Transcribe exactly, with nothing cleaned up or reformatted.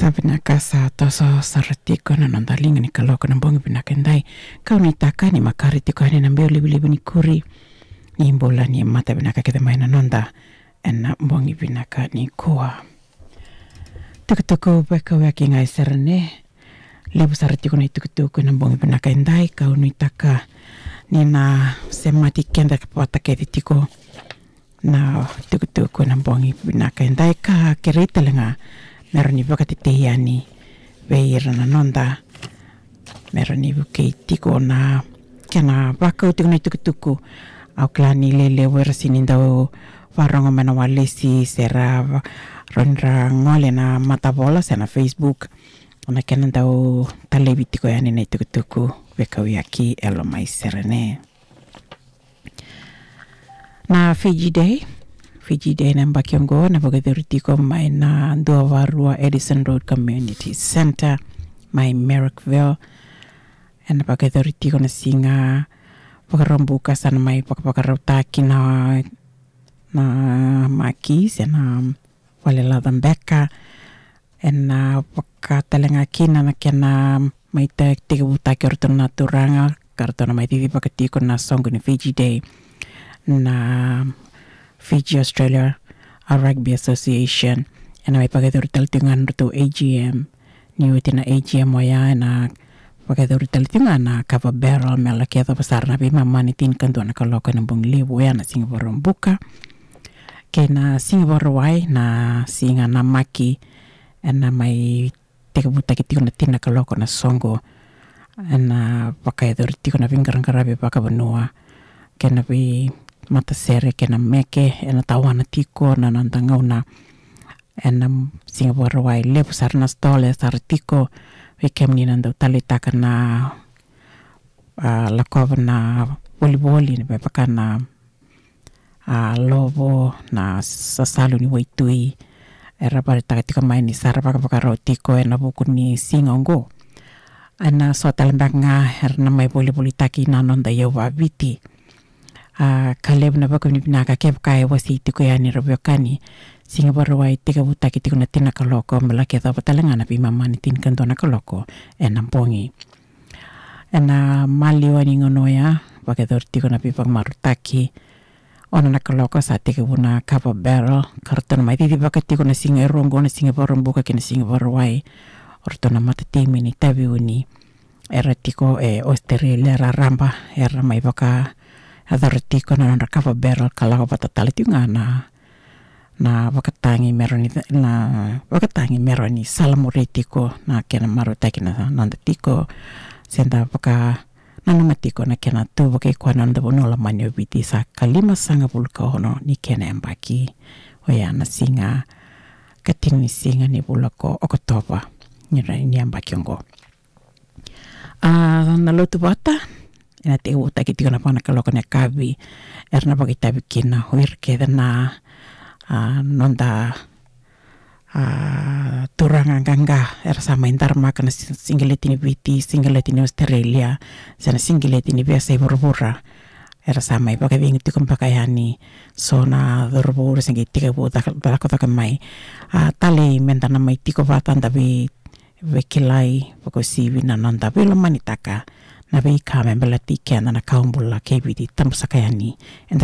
Sa vinaka, sa toso sara tiko na noda liga ni kaloko na bogi vinaka edai. Kau nuitaka ni makare tiko yani na biau livaliva ni kuri ni bula, ni mata vinaka kece mai na noda ena bogi vinaka nikua. Tukutuku Vakauyaki ga e Serene. Levu sara tiko na itukutuku ena bogi vinaka edai. Kau nuitaka ni na semati keda vata kece tiko na tukutuku ena bogi vinaka edai, ka kerei tale ga me rawa ni vakatetei yani vei ira na noda, me rawa ni vukei tiko na kena vakau tiko na itukutuku. Au kila ni lelevu era sini dau varogo mai na walesi, se ra va-, rawa ni ra gole na matavola se na Facebook, na kena dau talevi tiko yani na itukutuku Vakauyaki e Loma i Serene. Na Fiji Day. Fiji Day na yabaki oqo na vakayacori tiko mai na dua va rua Addison Road Community Centre mai Marrickville. Ena vakayacori tiko na siga Vakaraubuka, sa na mai vakavakarautaki na, na maki se na vale laca beka. Ena vaka tale ga kina na kena mai tekivutaki o ratou na turaga ka ratou na mai cicivaka tiko na soqo ni Fiji Day, na Fiji Australia, a, Rugby Association. Ena mai vakayacori tale tiko ga na ratou A G M. Ni oti na A G M oya, ena vakayacori tale tiko ga na kava barrel me laki yacova sara na veimama ni tinikadua na kaloko ena bogi levu oya na siga Vakaraubuka. Kei na siga Vakarauwai na siga namaki, ena mai tekivutaki tiko na tini na kaloko na soqo. Ena vakayacori tiko na veiqaraqaravi vakavanua kei na veimatasere kei na meke, ena tawana tiko na noda gauna. Ena siga Vakarauwai levu sara na stall e sara tiko. Vei kemuni na dau taleitaka na, a, lakova na volivoli, me vaka na, a, lovo, na sasalu ni waitui, era vakaraitaka tiko mai ni sa ra vakavakarau tiko ena vuku ni siga oqo. Ena so tale beka ga era na mai volivolitaki na noda iyau vaViti. A, ka levu na vakavinavinaka kevaka e wasei tiko yani, ra veiwekani. Siga Vakarauwai tekivutaki tiko na tini na kaloko me laki yacova tale ga na veimama ni tinikadua na kaloko ena bogi. Ena maliwa ni gauna oya vakayacori tiko na veivakamarautaki. Ono na kaloko sa tekivu na kava barrel ka ratou na mai cicivaka tiko na siga e rua oqo, na siga Vakaraubuka kei na siga Vakarauwai. O ratou na matatimi ni Taveuni era tiko e Australia raraba, era mai vakayacora tiko na nodra kava barrel ka lako vata tale tiko ga na, na vakatagi me rawa ni, na vakatagi me rawa ni salamuri tiko na kena marautaki na noda tiko, se da vakananuma tiko na kena tu vakaikoya na noda vanua lomani o Viti. Sa ka limasagavulu ka ono ni kena yabaki, oya na siga ka tini ni siga ni vula ko Okotova ni ra-, ni yabaki oqo. A, na lotu vata ena tekivutaki tiko na va na kaloko na yakavi. Era na vakaitavi kina o ira kece na, a, noda, a, turaga qaqa era sa mai daramaka na si-, sigileti ni Viti, sigileti ni Australia, se na sigileti ni veiyasai vuravura. Era sa mai vakacegu tiko beka yani. So na cauravou era se qai tekivu caka-, cakacaka mai. A, talei meda na mai tiko vata da vei veikilai, vakauasivi na noda veilomanitaka na veika me baleti keda na kawa bula kei Viti, tabu saka yani. Eda